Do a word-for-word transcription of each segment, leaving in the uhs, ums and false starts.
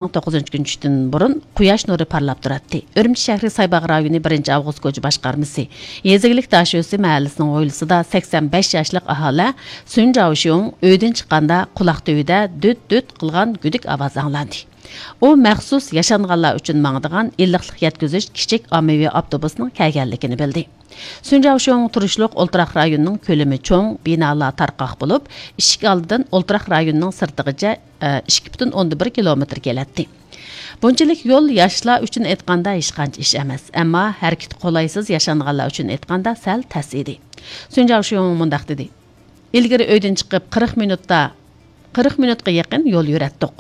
توققۇزىنچى كۈنى چۈشتىن بۇرۇن قۇياش نۇرى پارلاپ تۇراتتى. ئۈرۈمچى شەھىرى سايباغ رايونى بىرىنچى ئاۋغۇست كوچا باشقارمىسى يېزا ئىگىلىك داشۆسى مەھەللىسىنىڭ ھويلىسىدا سەكسەن بەش ياشلىق ئاھالە سۈن جاۋشيۇڭ ئۆيدىن چىققاندا قۇلاق تۈۋىدە دۈت دۈت قىلغان گۈدۈك ئاۋازى ئاڭلاندى. ئۇ مەخسۇس ياشانغانلار ئۈچۈن ماڭىدىغان ئىللىقلىق يەتكۈزۈش كىچىك ئاممىۋى ئاپتوبۇسنىڭ كەلگەنلىكىنى بىلدى. سۈن جاۋشيۇڭ تۇرۇشلۇق ئولتۇراق رايونىنىڭ كۆلىمى چوڭ، بىنالار تارقاق بولۇپ، ئىشىك ئالدىدىن ئولتۇراق رايونىنىڭ سىرتىغىچە، ئىككى پۈتۈن ئوندىن بىر كىلومېتىر كېلەتتى. بۇنچىلىك يول ياشلار ئۈچۈن ئېيتقاندا ھېچقانچە ئىش ئەمەس، ئەمما ھەرىكىتى قولايسىز ياشانغانلار ئۈچۈن ئېيتقاندا سەل تەس ئىدى. سۈن جاۋشيۇڭ مۇنداق دېدى: «ئىلگىرى ئۆيدىن چىقىپ قىرىق مىنۇتتا، قىرىق مىنۇتقا يېقىن يول يۈرەتتۇق.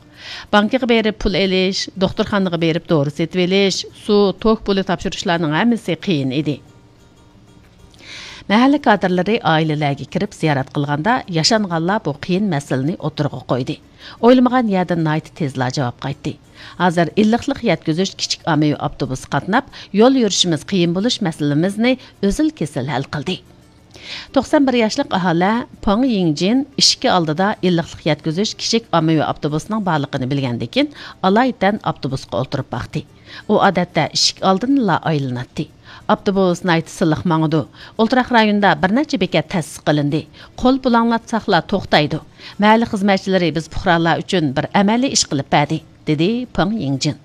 بانكىغا بېرىپ پۇل ئېلىش، دوختۇرخانىغا بېرىپ دورا سېتىۋېلىش، سۇ، توك پۇلى تاپشۇرۇشلارنىڭ ھەممىسى قىيىن ئىدى.» مەھەللە كادىرلىرى ئائىلىلەرگە كىرىپ زىيارەت قىلغاندا، ياشانغانلار بۇ قىيىن مەسىلىنى ئوتتۇرىغا قويدى. ئويلىمىغان يەردىن ناھايىتى تېزلا جاۋاب قايتتى. ھازىر ئىللىقلىق يەتكۈزۈش كىچىك ئاممىۋى ئاپتوبۇسى قاتناپ، يول يۈرۈشىمىز قىيىن بولۇش مەسىلىمىزنى ئۈزۈل-كېسىل ھەل قىلدى. توقسان بىر ياشلىق ئاھالە پېڭ يىڭجىن ئىشىكى ئالدىدا ئىللىقلىق يەتكۈزۈش كىچىك ئاممىۋى ئاپتوبۇسىنىڭ بارلىقىنى بىلگەندىن كېيىن، ئالايىتەن ئاپتوبۇسقا ئولتۇرۇپ باقتى. ئۇ ئادەتتە ئىشىك ئالدىنىلا ئايلىناتتى. «ئاپتوبۇس ناھايىتى سىلىق ماڭىدۇ. ئولتۇراق رايوندا بىر نەچچە بېكەت تەسىس قىلىندى. قول پۇلاڭلاتساقلا توختايدۇ. مەھەللە خىزمەتچىلىرى بىز پۇقرالار ئۈچۈن بىر ئەمەلىي ئىش قىلىپ بەردى»، دېدى پېڭ يىڭجىن.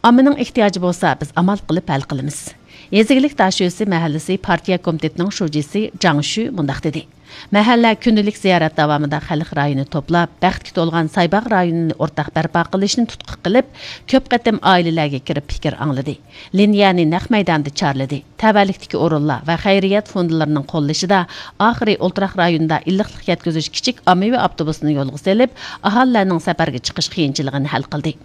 «ئاممىنىڭ ئېھتىياجى بولسا، بىز ئامال قىلىپ ھەل قىلىمىز.» يېزا ئىگىلىك داشۆسى مەھەللىسى پارتىيە كومىتېتىنىڭ شۇجىسى جاڭ شۈ مۇنداق دېدى: «مەھەللە كۈندىلىك زىيارەت داۋامىدا خەلق رايىنى توپلاپ، بەختكە تولغان سايباغ رايونىنى ئورتاق بەرپا قىلىشنى تۇتقا قىلىپ، كۆپ قېتىم ئائىلىلەرگە كىرىپ پىكىر ئاڭلىدى. لىنىيەنى نەق مەيداندا چارلىدى. تەۋەلىكتىكى ئورۇنلار ۋە خەيرىيەت فوندلىرىنىڭ قوللىشىدا ئاخىرى ئولتۇراق رايونىدا ئىللىقلىق يەتكۈزۈش كىچىك ئاممىۋى ئاپتوبۇسىنى يولغا سېلىپ، ئاھالىلەرنىڭ سەپەرگە چىقىش قىيىنچىلىقىنى ھەل قىلدى.»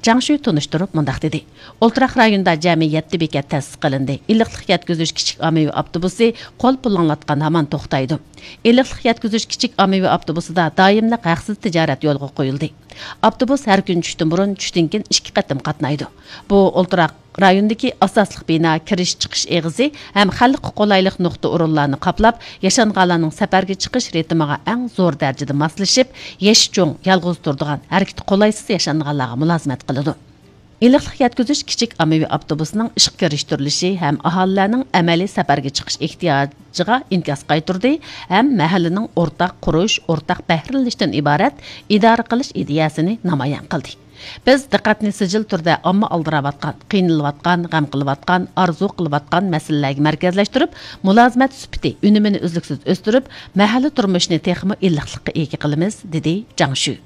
جاڭ شۈ تونۇشتۇرۇپ مۇنداق دېدى: «ئولتۇراق رايوندا جەمئىي يەتتە بېكەت تەسىس قىلىندى. ئىللىقلىق يەتكۈزۈش كىچىك ئاممىۋى ئاپتوبۇسى قول پۇلاڭلاتقان ھامان توختايدۇ. ئىللىقلىق يەتكۈزۈش كىچىك ئاممىۋى ئاپتوبۇسىدا دائىملىق ھەقسىز تىجارەت يولغا قويۇلدى. ئاپتوبۇس ھەر كۈنى چۈشتىن بۇرۇن، چۈشتىن كېيىن ئىككى قېتىم قاتنايدۇ. بۇ ئولتۇراق رايوندىكى ئاساسلىق بىنا كىرىش چىقىش ئېغىزى ھەم خەلققە قولايلىق نۇقتا ئورۇنلارنى قاپلاپ، ياشانغانلارنىڭ سەپەرگە چىقىش رىتىمىغا ئەڭ زور دەرىجىدە ماسلىشىپ، يېشى چوڭ، يالغۇز تۇرىدىغان، ھەرىكىتى قولايسىز ياشانغانلارغا مۇلازىمەت قىلىدۇ.» ئىللىقلىق يەتكۈزۈش كىچىك ئاممىۋى ئاپتوبۇسىنىڭ ئىشقا كىرىشتۈرۈلۈشى ھەم ئاھالىلەرنىڭ ئەمەلىي سەپەرگە چىقىش ئېھتىياجىغا ئىنكاس قايتۇردى ھەم مەھەللىنىڭ ئورتاق قۇرۇش، ئورتاق بەھرىلىنىشتىن ئىبارەت ئىدارە قىلىش ئىدىيەسىنى نامايان قىلدى. بىز دىققەتنى سىجىل تۈردە ئامما ئالدىراۋاتقان، قىينىلىۋاتقان، غەم قىلىۋاتقان، ئارزۇ قىلىۋاتقان مەسىلىلەرگە مەركەزلەشتۈرۈپ، مۇلازىمەت سۈپىتى، ئۈنۈمىنى ئۈزلۈكسىز ئۆستۈرۈپ، مەھەللە تۇرمۇشىنى تېخىمۇ ئىللىقلىققا ئىگە قىلىمىز، دېدى جاڭ شۈ.